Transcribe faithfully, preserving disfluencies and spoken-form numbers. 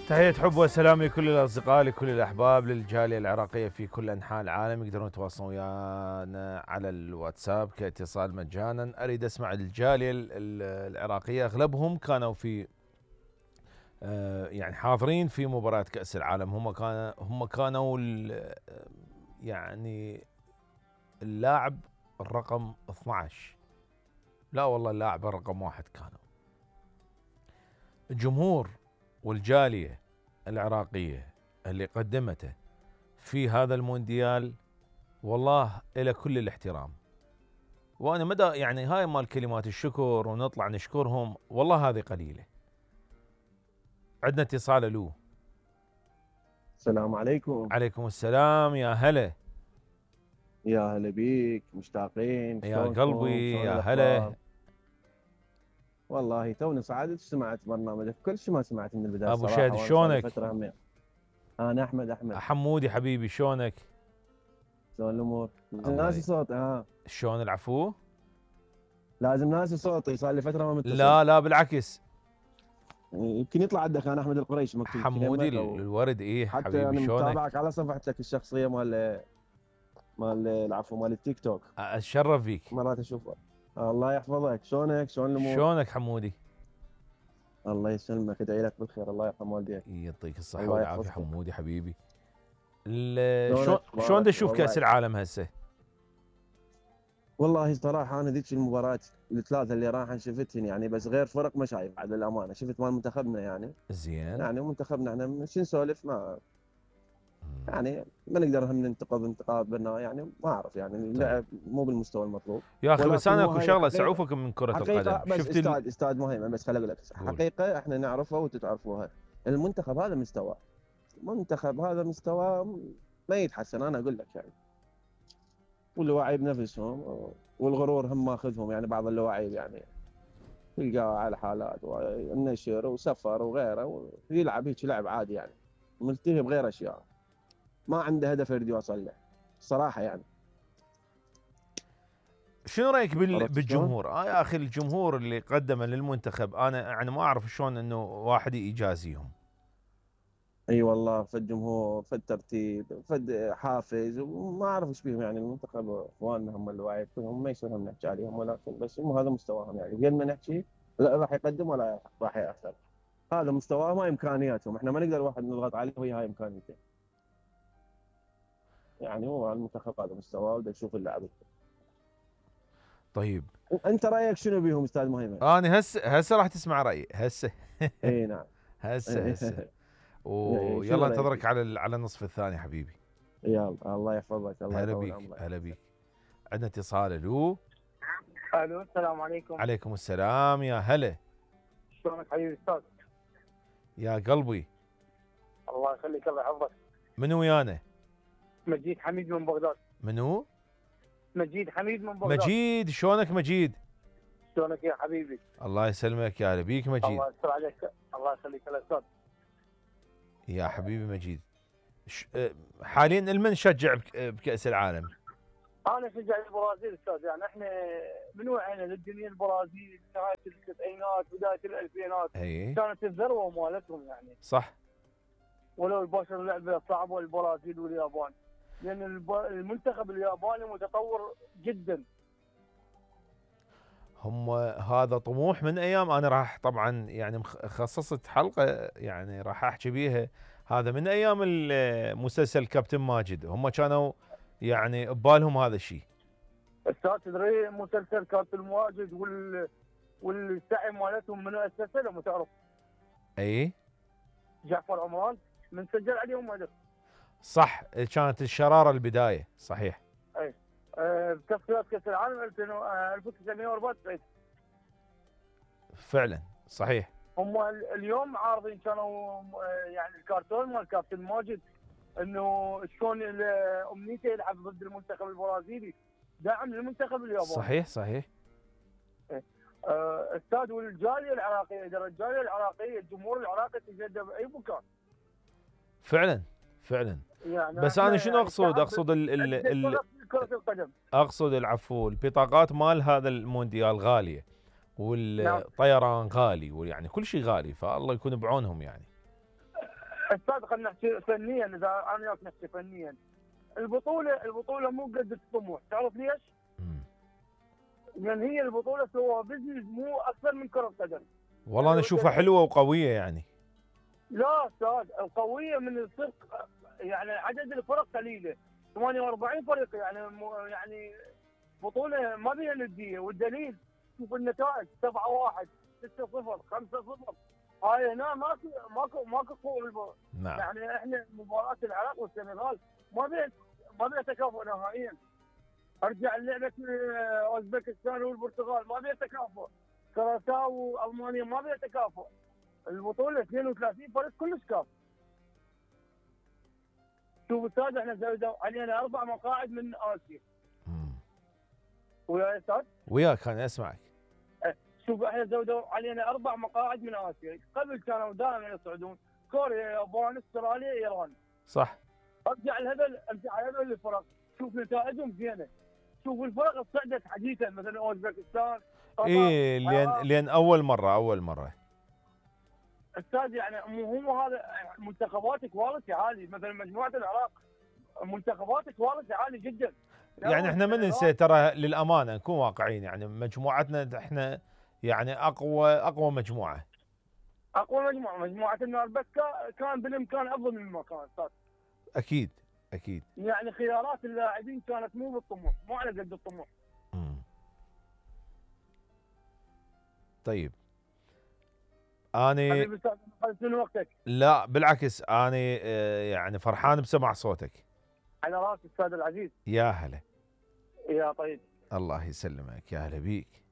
تحية حب وسلام لكل الأصدقاء لكل الأحباب للجالية العراقية في كل أنحاء العالم. يقدرون يتواصلون ويانا على الواتساب كاتصال مجانا. أريد أسمع الجالية العراقية، أغلبهم كانوا في يعني حاضرين في مباراة كأس العالم. هم كانوا هم كانوا يعني اللاعب الرقم اثنعش، لا والله اللاعب الرقم واحد كانوا. الجمهور والجالية العراقية اللي قدمته في هذا المونديال والله إلى كل الاحترام. وأنا مدى يعني هاي مال كلمات الشكر ونطلع نشكرهم والله هذه قليلة. عندنا اتصال. ألو، السلام عليكم. عليكم السلام، يا هلا. يا هلا بيك، مشتاقين. يا قلبي يا هلا. والله توني صعدت سمعت برنامجك كل شيء، ما سمعت من البدايه ابو شادي شلونك؟ انا احمد احمد حمودي حبيبي شلونك؟ شلون الامور؟ ناسي صوت. اه شلون العفو؟ لازم ناسي صوتي، صار لي فتره ما متصل. لا لا بالعكس، يمكن يطلع عندك انا احمد القريش مكتوب حمودي الورد. ايه حتى حبيبي انا شلونك؟ متابعك على صفحتك الشخصيه مال مال العفو مال التيك توك. اتشرف فيك، مرات اشوفها. الله يحفظك. شلونك؟ شلون الامور؟ شلونك حمودي؟ الله يسلمك، ادعي لك بالخير. الله يرحم والديك. يعطيك الصحه والعافيه حمودي حبيبي. شلون شلون شلون تشوف كاس العالم هسه؟ والله صراحه انا ذيك المباراه الثلاثه اللي راح شفتهن يعني، بس غير فرق ما شايف على الامانه. شفت مال منتخبنا يعني زين، يعني منتخبنا احنا شو نسولف، ما يعني ما نقدر هم ننتقد انتقاد بنا يعني، ما اعرف يعني اللعب مو بالمستوى المطلوب يا اخي. بس انا اكو شغله اسعفك من كره القدم. بس شفت استاذ ال... استاذ مهمه، بس خليني اقول لك حقيقه احنا نعرفها وانتم تعرفوها. المنتخب هذا مستوى، المنتخب هذا مستوى ما يتحسن. انا اقول لك يعني، واللواعي بنفسهم والغرور هم ماخذهم يعني. بعض اللواعيب يعني تلقاه على حالات والنشر وسفر وغيره ويلعب هيك لعب عادي يعني، ملتهي بغير اشياء، ما عنده هدف يريد يوصل له صراحه يعني. شنو رايك بال... بالجمهور؟ اه يا اخي الجمهور اللي قدمه للمنتخب انا يعني ما اعرف شلون انه واحد يجازيهم. اي أيوة والله، في الجمهور في الترتيب في حافز وما اعرف ايش بيهم يعني. المنتخب اخواننا هم الواعي هم ما يصير نحكي عليهم، ولكن بس هم هذا مستواهم يعني. قد ما نحكي لا راح يقدم ولا راح ياثر، هذا مستواهم هاي امكانياتهم. احنا ما نقدر واحد نضغط عليه وهي هاي امكانياته يعني. هو المنتخب هذا مستواه وده يشوف اللاعب. طيب انت رايك شنو بيهم استاذ مهيمن؟ انا هسه هسه راح تسمع رايي هسه. اي نعم هسه هسه ويلا انتظرك على على النصف الثاني حبيبي. يلا الله يحفظك. الله هلا بيك هلا بيك. عندنا اتصال. الو الو السلام عليكم. عليكم السلام يا هلا. شلونك حبيبي استاذ؟ يا قلبي الله يخليك الله يحفظك. منو ويانا؟ مجيد حميد من بغداد. منو؟ مجيد حميد من بغداد. مجيد شلونك مجيد؟ شلونك يا حبيبي؟ الله يسلمك يا هلا بيك مجيد. الله يستر عليك. الله يخليك يا استاذ. يا حبيبي مجيد، حاليا المن شجع بكأس العالم؟ انا شجع البرازيل استاذ. يعني احنا من وعينا للدنيا البرازيل نهايه التسعينات بدايه الالفينات أيه. كانت الذروه مالتهم يعني. صح. ولو البشر لعبه صعبه البرازيل واليابان، لان المنتخب الياباني متطور جدا. هم هذا طموح من ايام. انا راح طبعا يعني خصصت حلقه يعني راح احكي بيها. هذا من ايام المسلسل كابتن ماجد، هم كانوا يعني ببالهم هذا الشيء. استاذ تدري مسلسل كابتن ماجد وال والسعي مالتهم من اسسه لو تعرف؟ اي جعفر عمران من سجل عليهم هدف. صح، كانت الشراره البدايه صحيح. اي بتصفيات كاس العالم ألف وتسعمئة وأربعة وتسعين. فعلا صحيح. هم اليوم عارضين كانوا يعني الكرتون مال كابتن ماجد انه شلون امنيته يلعب ضد المنتخب البرازيلي، داعم للمنتخب الياباني. صحيح صحيح. استاذ والجاليه العراقيه، اذا الجاليه العراقيه الجمهور العراقي تجدد باي مكان. فعلا فعلا. يعني بس انا شنو اقصد؟ اقصد ال ال ال كرة القدم. اقصد العفو البطاقات مال هذا المونديال غاليه، والطيران غالي، ويعني كل شيء غالي، فالله يكون بعونهم يعني. استاذ خلينا نحكي فنيا، اذا انا وياك نحكي فنيا. البطوله البطوله مو قد الطموح، تعرف ليش؟ مم. لان هي البطوله سوى بزنس مو اكثر من كره قدم. والله انا اشوفها حلوه وقويه يعني. لا استاذ، القويه من الفرق، يعني عدد الفرق قليله، ثمانية وأربعين فريق، يعني مو- يعني بطوله ما بيها نديه، والدليل شوف النتائج سبعة واحد، ستة صفر، خمسة صفر. هاي هنا ماكو ماكو ماكو قوه بالبطوله. نعم. يعني احنا مباراه العراق والسنغال ما بيها ما بيها تكافؤ نهائيا. ارجع لعبه آه، اوزبكستان والبرتغال ما بيها تكافؤ. كراساو والمانيا ما بيها تكافؤ. البطوله اثنين وثلاثين فريق كلش كاف. شوف استاذ، احنا زودوا علينا اربع مقاعد من اسيا. مم. ويا استاذ، وياك انا اسمعك. شوف احنا زودوا علينا اربع مقاعد من اسيا، قبل كانوا دائما يصعدون كوريا، يابان، استراليا، ايران. صح. ارجع لهذول ارجع لهذول الفرق، شوف نتائجهم زينه. شوف الفرق اللي صعدت حديثا مثلا اوزبكستان، قطر، ايه لان العراق. لان اول مره اول مره. استاذ يعني مو هو هذا منتخبات كواليتي عالي، مثلا مجموعه العراق منتخبات كواليتي عالي جدا. يعني احنا ما ننسى ترى للامانه نكون واقعيين، يعني مجموعتنا احنا يعني اقوى اقوى مجموعه. اقوى مجموعه مجموعه النار، بس كا- كان بالامكان افضل مما كان استاذ. اكيد اكيد. يعني خيارات اللاعبين كانت مو بالطموح، مو على قد الطموح. مم. طيب اني حبيبي استاذ، خلص من وقتك. لا بالعكس اني آه، يعني فرحان بسمع صوتك. على راسي استاذ العزيز. يا هلا. يا طيب. الله يسلمك، يا هلا بيك.